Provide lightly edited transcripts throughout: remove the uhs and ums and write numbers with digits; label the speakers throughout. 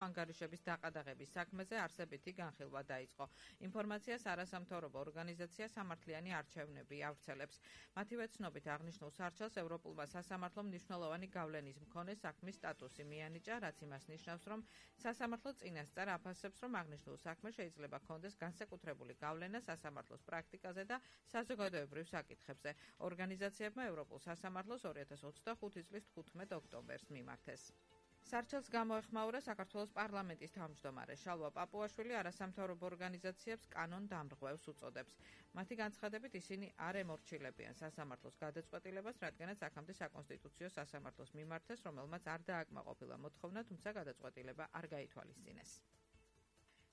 Speaker 1: ანგარიშების დაყადაღების საქმეზე არსებითი განხილვა დაიწყო. ინფორმაციას არასამთავრობო ორგანიზაცია სამართლიანი არჩევნები ავრცელებს. მათივე ცნობით აღნიშნულ სარჩელს ევროპულმა სასამართლომ მნიშვნელოვანი გავლენის მქონე საქმის სტატუსი მიანიჭა, რაც იმას ნიშნავს, რომ სასამართლო წინასწარ აფასებს, რომ აღნიშნულ საქმე შეიძლება ჰქონდეს განსაკუთრებული გავლენა სასამართლოს პრაქტიკაზე და საზოგადოებრივ საკითხებზე. ორგანიზაციებმა ევროპულ სასამართლოს 2025 წლის 15 ოქტომბერს მიმართეს. სარჩელს გამოეხმაურა საქართველოს პარლამენტის თავმჯდომარე შალვა პაპუაშვილი არასამთავრობო ორგანიზაციებს კანონდამრღვევს უწოდებს. მათი განცხადებით ისინი არ ემორჩილებიან სასამართლოს გადაწყვეტილებას, რადგანაც აქამდე საკონსტიტუციო სასამართლოს მიმართეს, რომელმაც არ დააკმაყოფილა მოთხოვნა, თუმცა გადაწყვეტილება არ გაითვალისწინეს.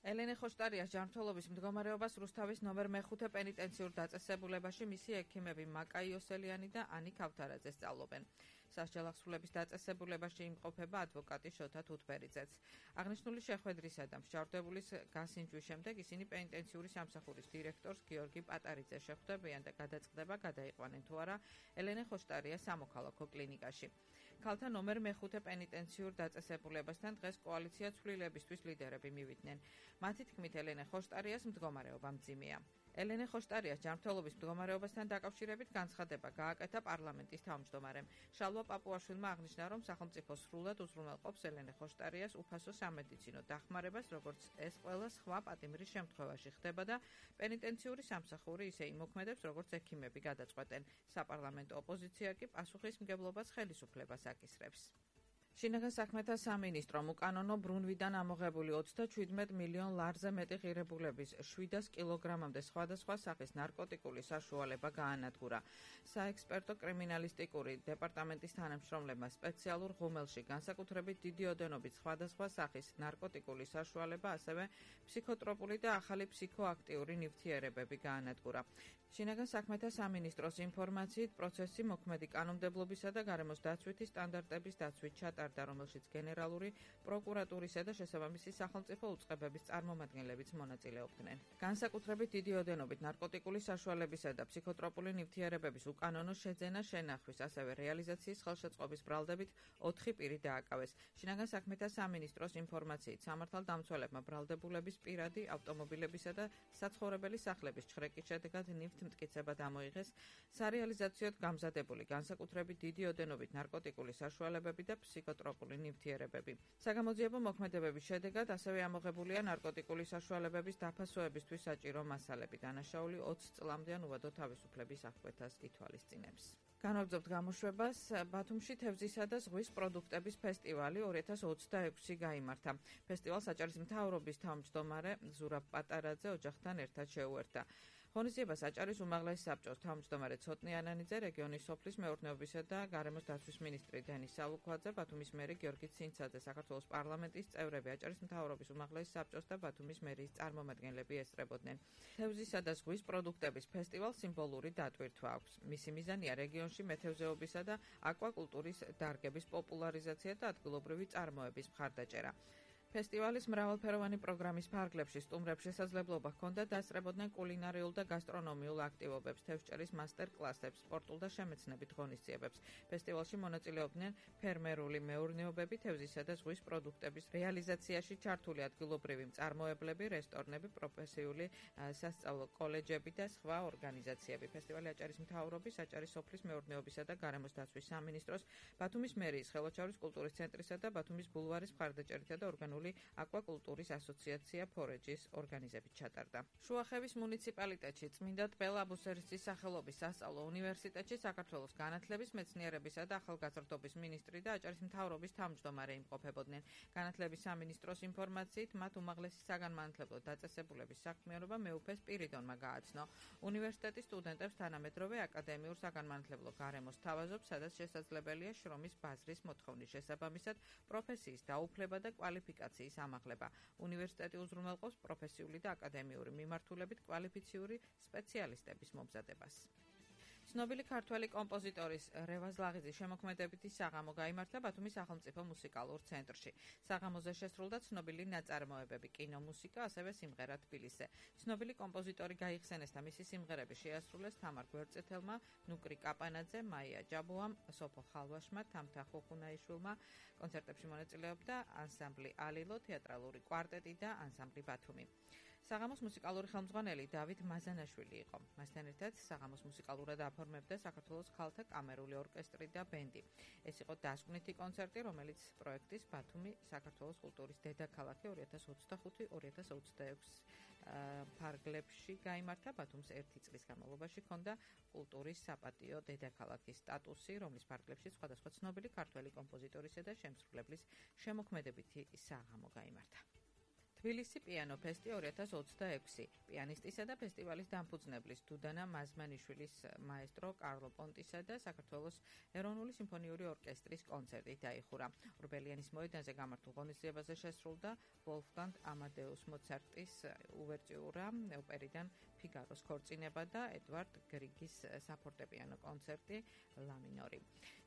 Speaker 1: ელენე ხოშტარიას ჯანმრთელობის მდგომარეობას რუსთავის ნომერ მე-5 პენიტენციურ დაწესებულებაში მისი ექიმები მაკა იოსელიანი და ანი ქავთარაძე სწავლობენ. სასჯელახსრულების დაწესებულებაში იმყოფება ადვოკატი შოთა თუთბერიძეც. აღნიშნული შეხვედრისა და მსჯავრდებულის გასინჯვის შემდეგ ისინი პენიტენციური სამსახურის დირექტორს გიორგი პატარიძეს შეხვდებიან და გადაწყდება გადაიყვანენ თუ არა ელენე ხოშტარიას სამოქალაქო კლინიკაში. ქალთა ნომერ მე-5 პენიტენციურ დაწესებულებასთან დღეს კოალიცია ცვლილებისთვის ლიდერები მივიდნენ. მათი თქმით ელენე ხოშტარიას მდგომარეობა მძიმეა. ელენე ხოშტარიას ჯანმრთელობის მდგომარეობასთან დაკავშირებით განცხადება გააკეთა პარლამენტის თავმჯდომარემ. შალვა პაპუაშვილმა აღნიშნა, რომ სახელმწიფო სრულად უზრუნველყოფს ელენე ხოშტარიას უფასო სამედიცინო დახმარებას, როგორც ეს ყველა სხვა პატიმრის შემთხვევაში ხდება და პენიტენციური სამსახური ისე იმოქმედებს, როგორც ექიმები გადაწყვეტენ. საპარლამენტო ოპოზიცია კი პასუხისმგებლობას ხელისუფლებას აკისრებს. შინაგან საქმეთა სამინისტრომ უკანონო ბრუნვიდან ამოღებული 37 მილიონ ლარზე მეტი ღირებულების 700 კილოგრამამდე სხვადასხვა სახის ნარკოტიკული საშუალება გაანადგურა. საექსპერტო კრიმინალისტიკური დეპარტამენტის თანამშრომლებმა სპეციალურ ღუმელში განსაკუთრებით დიდი ოდენობით სხვადასხვა სახის ნარკოტიკული საშუალება, ასევე ფსიქოტროპული და ახალი ფსიქოაქტიური ნივთიერებები გაანადგურა. შინაგან საქმეთა სამინისტროს ინფორმაციით პროცესი მოქმედი კანონმდებლობისა და გარემოს დაცვითი სტანდარტების დაცვით ჩატარდა, რომელშიც გენერალური პროკურატურისა და შესაბამისი სახელმწიფო უწყებების წარმომადგენლებიც მონაწილეობდნენ. განსაკუთრებით დიდი ოდენობით ნარკოტიკული საშუალებისა და ფსიქოტროპული ნივთიერებების უკანონო შეძენა შენახვის, ასევე რეალიზაციის ხელშეწყობის ბრალდებით 4 პირი დააკავეს. შინაგან საქმეთა სამინისტროს ინფორმაციით სამართალდამცველებმა ბრალდებულების პირადი ავტომობილებისა და საცხოვრებელი სახლების ჩხრეკის შედეგად მტკიცება დამოიღეს, სარეალიზაციოდ გამზადებული განსაკუთრებით დიდი ოდენობით ნარკოტიკული საშუალებები და ფსიქოტროპული ნივთიერებები. საგამოძიებო მოქმედებების შედეგად ასევე ამოღებულია ნარკოტიკული საშუალებების დაფასოებისთვის საჭირო მასალები. დანაშაული 20 წლამდე ან უვადო თავისუფლების აღკვეთას ითვალისწინებს. განვაგრძობთ გამოშვებას. ბათუმში თევზისა და ზღვის პროდუქტების ფესტივალი 2026 გაიმართა. ფესტივალს აჭარის მთავრობის თავმჯდომარე ზურაბ პატარაძე ოჯახთან ერთად შეუერთა. ღონისძიებას აჭარის უმაღლესი საბჭოს თავმჯდომარე ცოტნი ანანიძე, რეგიონის სოფლის მეურნეობისა და გარემოს დაცვის მინისტრი დენის სალუქვაძე, ბათუმის მერი გიორგი ცინცაძე, საქართველოს პარლამენტის წევრები, აჭარის მთავრობის უმაღლესი საბჭოს და ბათუმის მერიის წარმომადგენლები ესწრებოდნენ. თევზისა და ზღვის პროდუქტების ფესტივალს სიმბოლური დატვირთვა აქვს. მისი მიზანია რეგიონში მეთევზეობისა და აკვაკულტურის დარგების პოპულარიზაცია და ადგილობრივი წარმოების მხარდაჭერა. ფესტივალის მრავალფეროვანი პროგრამის ფარგლებში სტუმრებს შესაძლებლობა ჰქონდა დასწრებოდნენ კულინარიულ და გასტრონომიულ აქტივობებს, თევზჭერის მასტერ-კლასებს, სპორტულ და შემეცნებით ღონისძიებებს. ფესტივალში მონაწილეობდნენ ფერმერული მეურნეობები, თევზისა და ზღვის პროდუქტების რეალიზაციაში ჩართული ადგილობრივი მწარმოებლები, რესტორნები, პროფესიული სასწავლო კოლეჯები და სხვა ორგანიზაციები. ფესტივალი აჭარის მთავრობის, აჭარის სოფლის მეურნეობისა და გარემოს დაცვის სამინისტროს, ბათუმის მერიის ხელოჩაურის კულტურის ცენტრისა და ბათუმის ბულვარის მხარდაჭერითა და ორგანული აკვაკულტურის ასოციაცია ფორეჯის ორგანიზებით ჩატარდა. შუახევის მუნიციპალიტეტში წმინდა ტბელ აბუსერისის სახელობის სასწავლო უნივერსიტეტში საქართველოს განათლების, მეცნიერებისა და ახალგაზრდობის მინისტრი და აჭარის მთავრობის თავმჯდომარე იმყოფებოდნენ. განათლების სამინისტროს ინფორმაციით მათ უმაღლესი საგანმანათლებლო დაწესებულების საქმიანობა მეუფეს პირიდონმა გააცნო. უნივერსიტეტის სტუდენტებს თანამედროვე აკადემიურ საგანმანათლებლო გარემოს თავაზობს, სადაც შესაძლებელია შრომის ბაზრის მოთხოვნის შესაბამისად პროფესიის დაუფლება და კვალიფიკაციის ამაღლება. უნივერსიტეტი უზრუნველყოფს პროფესიული და აკადემიური მიმართულებით კვალიფიციური სპეციალისტების მომზადებას. ცნობილი ქართველი კომპოზიტორის რევაზ ლაღიძის შემოქმედებითი საღამო გაიმართა ბათუმის სახელმწიფო მუსიკალურ ცენტრში. საღამოზე შესრულდა ცნობილი ნაწარმოებები, კინომუსიკა, ასევე სიმღერა თბილისზე. ცნობილი კომპოზიტორი გაიხსენეს და მისი სიმღერები შეასრულეს თამარ გვერდწითელმა, ნუკრი კაპანაძე, მაია ჯაბუამ, სოფო ხალვაშმა, თამთა ხუხუნაიშვილმა. კონცერტებში მონაწილეობდა ანსამბლი ალილო, თეატრალური კვარტეტი და ანსამბლი ბათუმი. საღამოს მუსიკალური ხელმძღვანელი დავით მაზანაშვილი იყო. მასთან ერთად საღამოს მუსიკალურად აფორმებდა საქართველოს ქალთა კამერული ორკესტრი და ბენდი. ეს იყო დასკვნითი კონცერტი, რომელიც პროექტის ბათუმი საქართველოს კულტურის დედაქალაქი 2025-2026 ფარგლებში გაიმართა. ბათუმს 1 წლის განმავლობაში ჰქონდა კულტურის საპატიო დედაქალაქის სტატუსი, რომლის ფარგლებში სხვადასხვა ცნობილი ქართველი კომპოზიტორისა და შემსრულებლის შემოქმედებითი საღამო გაიმართა. თბილისი პიანო ფესტი 2026. პიანისტისა და ფესტივალის დამფუძნებლის დუდანა მაზმანიშვილის მაესტრო კარლო პონტისა და საქართველოს ეროვნული სიმფონიური ორკესტრის კონცერტი დაიხურა. ორბელიანის მოედანზე გამართულ ღონისძიებაზე შესრულდა ვოლფგანგ ამადეუს მოცარტის უვერტიურა ოპერიდან ფიგაროს ქორწინება და ედვარდ გრიგის საფორტეპიანო კონცერტი ლა მინორი.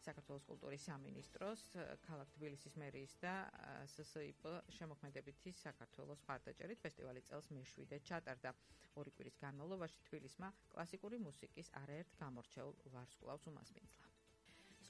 Speaker 1: საქართველოს კულტურის სამინისტროს, ქალაქ თბილისის მერიის და SSIP შემოქმედებითი საქართველოს მხარდაჭერით ფესტივალი წელს მე-7 ჩატარდა. 2 კვირის განმავლობაში თბილისმა კლასიკური მუსიკის არაერთ გამორჩეულ ვარსკვლავს უმასპინძლა.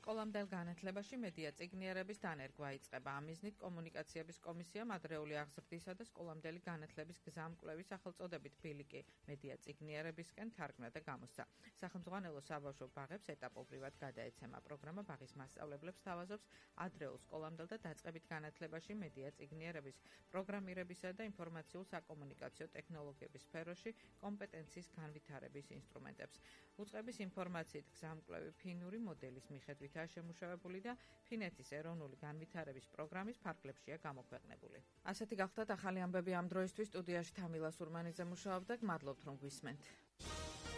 Speaker 1: სკოლამდელ განათლებაში მედია წიგნიერების დანერგვა იწყება. ამ მიზნით კომუნიკაციების კომისიამ ადრეული აღზრდისა და სკოლამდელი განათლების გზამკვლევის სახელწოდებით ბილიკი მედია წიგნიერებისკენ თარგმნა და გამოსცა. სახელმძღვანელო საბავშვო ბაღებს ეტაპობრივად გადაეცემა. პროგრამა ბაღის მასწავლებლებს თავაზობს ადრეულ სკოლამდელ და დაწყებით განათლებაში მედია წიგნიერების პროგრამირებისა და ინფორმაციულ-საკომუნიკაციო ტექნოლოგიების სფეროში კომპეტენციის განვითარების ინსტრუმენტებს. უწყების ინფორმაციით გზამკვლევი ფინური მოდელის მიხედვით შემუშავებული და ფინეთის ეროვნული განვითარების პროგრამის ფარგლებშია გამოქვეყნებული. ასეთი გახლდათ ახალი ამბები ამ დროისთვის. სტუდიაში თამილა სურმანიძე მუშაობდა. გმადლობთ რომ გვისმენთ.